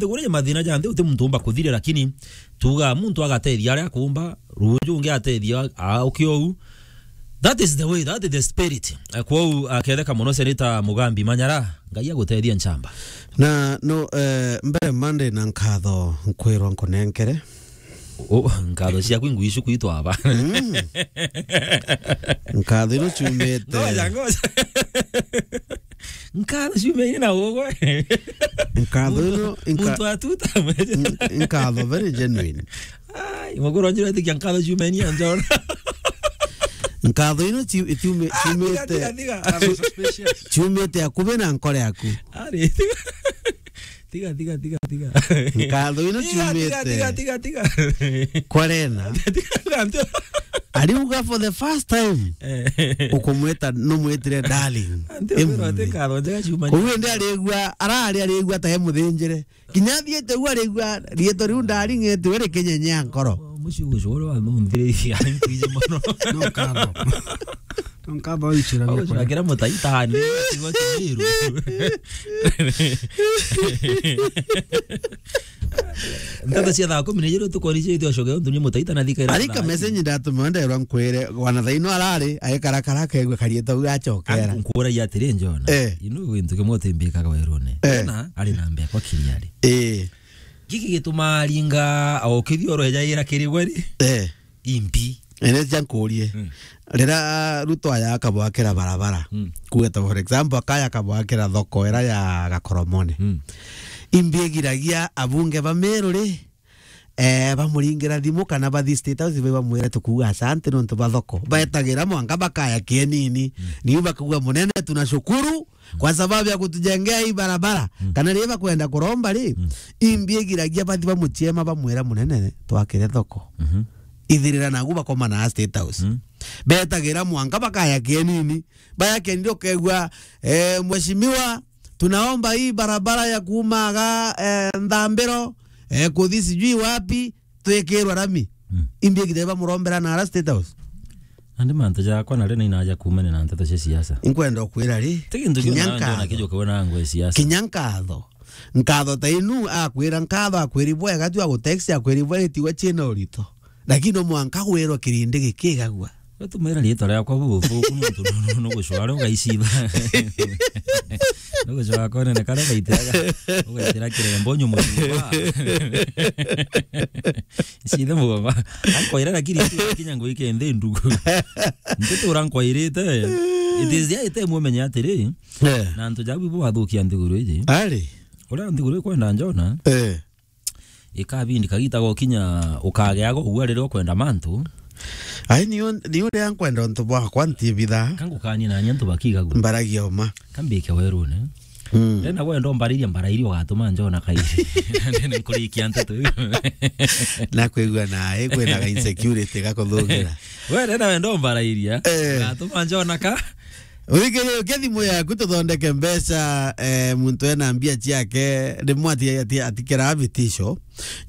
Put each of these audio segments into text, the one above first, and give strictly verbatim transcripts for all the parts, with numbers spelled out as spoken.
Uria mathina ja nthi uti muntu umba kuthire, lakini tuga muntu agatethia aria akumba, ruju ungi atethia a-, ukiou. That is the way, that is the spirit. Eh, kwou, aketheka mono Senator Mugambi Manyara, Ngai agutethia nchamba. Na no, eh, mbere mande na nkatho nkwirwa nkunenkere. O, nkatho ciaku ingwicu kwitwa aba. Mm. Nkatho ino ciumite. Ngoja, ngoja. Nkatho ciumite na ugwe. Nkatho ino, nka-, muntu atuta mwe. N-, nkatho very genuine. Ai, muguru njira tikia nkatho ciumite anjona. Nkatho ino ci-, ciume-, ah, tiga, ciumite. Tiga, tiga. Nkatho suspicious. Ciumite akubi na nkore yaku. Ari, tiga. Tiga, tiga, tiga, tiga. Nkatho ino ciumite. Tiga, tiga, tiga, tiga. Kwa Rena. Tiga, tiga. Ariuga for the first time. Eh. Ukumwita, numwitire darling. Ante, ati nkatho njega ciuma. Koguo ndi arigua, arari arigua ta e muthinjire. Kinya athiite u arigua, riitwa riu darling etiwe rikinyenya nkoro. Muci ucio uria wamunthiritie, ari nkwiji mono. No nkatho. Nkatho ichira bia kura. Ucakira mutaitani, tigwa Kimiru. Nteto cia thaa kumi na ijiri tukoni cio itio coke untu ni mutaita na thika ira. Arika message ndatuma nderwa nkwire, wana thaino arari, aikara kara kegwe karieta u acokera. Nkura ya atiri njona. Eh. Inu gintu kimwe utimbikaga werune. Eh. Na ari na mbekwa kiriari. Eh. Giki gitumaa ringa o kithioro ejaira kiri gwe ri? Eh. Imbi. Ene cia nkurie. Mm. Rira Ruto aya akabwakira barabara, mm, kuweta for example, akaya akabwakira thoko ira ya Gakoromone. Mm. Imbi igiragia abunge ba Meru ri, eh, bamuringira thimu kana bathi State House, bamwire tukuuga asante nontu ba thoko. Baetagira mwanka bakaya kienini. Mm. Niu bakuuga, "Munene, tunashukuru kwa sababu ya kutujengea hii barabara." Mm. Kana riria bakwenda kuromba ri, mm, imbi igiragia bathi bamuchiema bamwira, "Munene, twakire thoko." Mhm. Ithirira nagu bakomana State House. Mm. Betagira mwanka bakaya kienini. Baya kienini ukegua, eh, "Mheshimiwa, tunaomba hii barabara ya kuumaga, eh, Nthambiro, eh, kuthi sijui wapi, twikirwe rami." Mm. Imbi igithe bamurombera na ara State House. Nandi mantu jakwa nari nainaja kuumania na nteto cia siasa. Inkwenda ukwira ri, ti gintu kinya kiu na nkatho. Kijukiwe na ngwe siasa. Kinya nkatho. Nkatho ta inu akwira nkatho, akwiri bwega tu, agutext, akwiri bwega, itigwa ciina urito. Lakini no mwanka gwirwa kirindi gikigagua. We tumira riitwa riakwa buthuku nontu nu-, nu-, nugucwara ugaicitha. Nugucwara konene karia ugaitiraga, ugaitira kirembo nyumucumba. Icithe mugongo. Ankoira lakini kinya ngwike nthi ndugu. Ntitura nkwairite. It is there, ite mumenye atiri. Eh. Na antu jabu ibo bathukia nthiguru iji. Ari. Uria nthiguru ikwenda njona. Eh. Ikabindi kagita gokinya ukageaga ugua riria ukwenda mantu. Ai, niu, niu riria nkwenda untu bwakwa ntiibithaa. Kangukanie na antu bakigagua. Mbaragia uma. Kambike werune. Mm. Ndenda gwenda umbarairie mbarairie ugatuma njona kairi. Ndenda nkurikia nteto iu. Na kwigua nae kwina ga insecurity gakuthugira. We ndenda wenda umbarairia, eh, ugatuma njona ka. Uthikiririe, ukia thimu yaku tuthondeke mbeca, eh, muntu ena mbia ciake, rimwe ati-, ati-, atikira vitisho.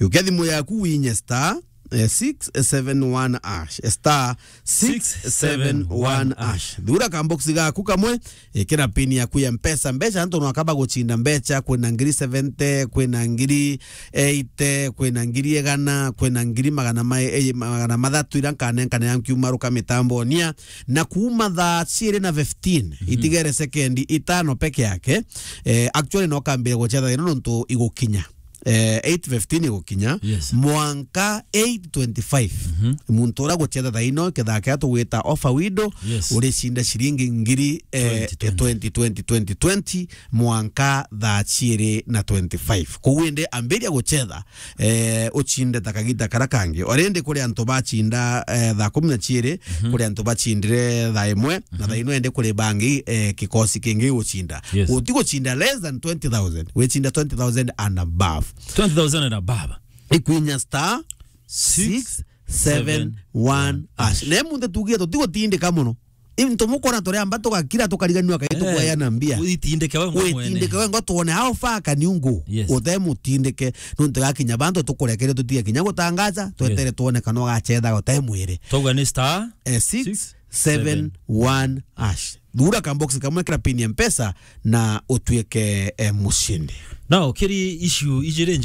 Ukia thimu yaku winye star, eh, six seven one hash, star six seven one hash. Thura kamboksi gaku kamwe, ikira pin yaku ya Mpesa. Mbeca antu no akaba guchinda mbeca, kwina ngiri seventy, kwina ngiri eighty, kwina ngiri igana, kwina ngiri magana ma-, eh, magana mathatu iria nkanenkane ya nkiuma ruka mitambo onia. Na kuuma thaa ciiri na fifteen, mhm, itigere sekendi itano peke yake, eh, actually no kambire gucetha thina nontu igukinya, eh, eight fifteen igukinya, yes, mwanka eight twenty-five. Mhm. Muntu uria gucetha thaa ino, kethaa kia tugwita offer window, yes, uricinda ciringi ngiri, eh, twenty twenty, twenty twenty, mwanka thaa ciiri na twenty-five. Koguo indi ambiria gucetha, eh, uchinde ta kagita kara kangi. Already kuri antu bachinda, eh, thaa kumi na ciiri, mhm, kuri antu bachindire thaa imwe, na, mhm, thaa ino indi kuri bangi, eh, kikosi kingi guchinda. Yes. Uti guchinda less than twenty thousand, wichinda twenty thousand and above. Twenty thousand and above. Ikwinya star six seven one hash. Na muntu tugie tutigutindika muno. Into mukona turi amba tugakira tukariganirwa kairi, eh, tukweana mbia. Witindike we ngo mwene. Witindike we ngo tuone how far can you go. Yes. Utemutindike, nontu gakinya bantu tukurekere tutige kinya gutangaza, twetere, yes, tuone kana ugacethaga utemwire. Twauga ni star, eh, six seven one hash. Thura kambox kamwe kira pin ya Mpesa na utuike, eh, mushindi. Now, kiri issue ijiri